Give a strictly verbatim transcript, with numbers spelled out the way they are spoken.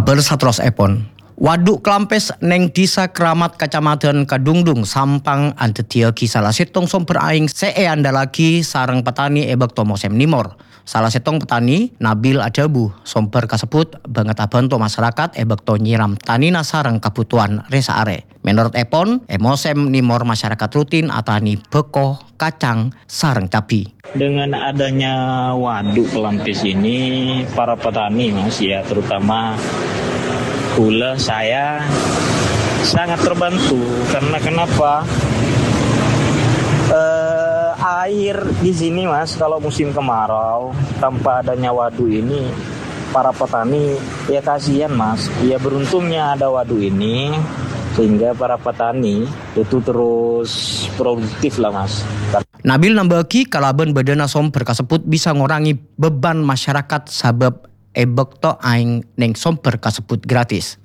Bâr saterrossèpon, Wadhu Kalampis neng Dhisa Kramat, Kacamadhân Kadungdung, Sampang, andhâddhiyâghi sala sèttong sombher aèng sè èandhâllaghi sareng patani è bâkto mosèm nèmor. Sala sèttong patani, Nabil, adhâbu, sombher kasebbhut bângèt abhânto masarakat è bâkto nyèram tanèna sareng kabhutowan rè-saarè. Mènorot èpon, è mosèm nèmor masyarakat rutin atanè bhâko, kacang, sareng cabbhi. Dengan adanya waduk Kalampis ini, para petani, Mas, ya, terutama kaulâ, saya sangat terbantu. Karena kenapa? Eh, air di sini, Mas, kalau musim kemarau, tanpa adanya waduk ini, para petani, ya, kasihan, Mas. Ya, beruntungnya ada waduk ini, sehingga para petani itu terus produktif lah, Mas. Nabil nambâ'aghi, kalabân bâdâna sombher kasebbhut bisa ngorangè beban masyarakat sabâb è bâkto aèng neng sombher kasebbhut gratis.